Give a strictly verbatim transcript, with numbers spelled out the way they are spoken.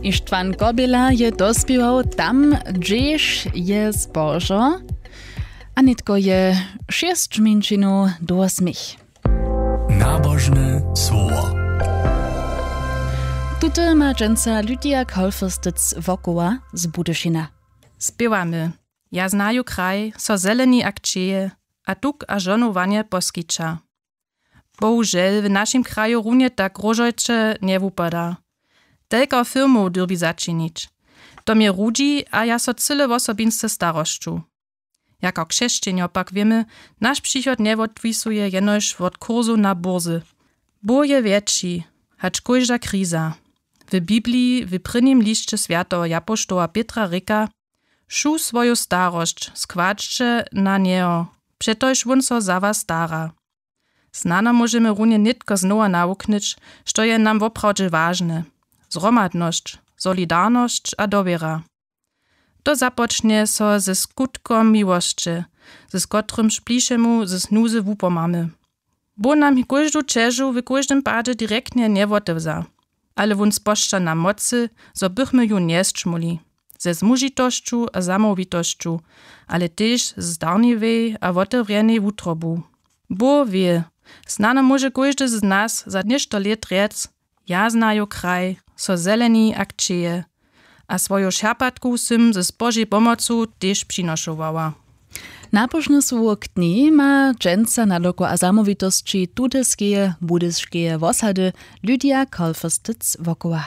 Ištwan Kobila je dospěwał tam, hdźež je zbožo, a nětko je šěsć mjeńšinow do wosmich. Nabožne słowo. Tute ma dźensa Lydia Kolfestec wokoła z Budyšina. Spěwamy: Ja znaju kraj, so zeleni a kćeje, a tuk a žohnowanje poskića. Bohužel w našim kraju runje tak róžojće njewupada. Telko firmow dyrbi začinić. To mje rudźi a ja so cyle wosobinsce starosću. Jako křesćenjo pak wěmy, naš přichod njewotwisuje jenož wot kursow na burzy. Bóh je wjetši hač kóžda kriza. W bibliji w prěnim lisće swjateho japoštoła pětra rěka: Wšu swoju starosć składźće na njeho, přetož wón so za was stara. Snano móžemy runje nětko znowa nawuknyć, što je nam woprawdźe wažne: zhromadnosć, solidarnosć a dowěra. To započnje so ze skutkom miłosće, z kotrymž blišemu z nuzy wupomamy. Bóh nam kóždu ćežu w kóždym padźe direktnje njewotewza, ale wón spožča nam mocy, zo bychmy ju njesćmuli, ze zmužitosću a zamołwitosću, ale tež z darniwej a wotewrjenej wutrobu. Bóh wě, snano móže kóždy z nas za něšto lět rjec: Ja znaju kraj, so zeleni a kćeje, a swoju šerpatku sym z spožej pomocu tež přinošowała. Napožne słowo k njej ma dźensa nadoko a zamołwitosći tuteskeje budyskeje wosady Lydia Kolfestec wokoła.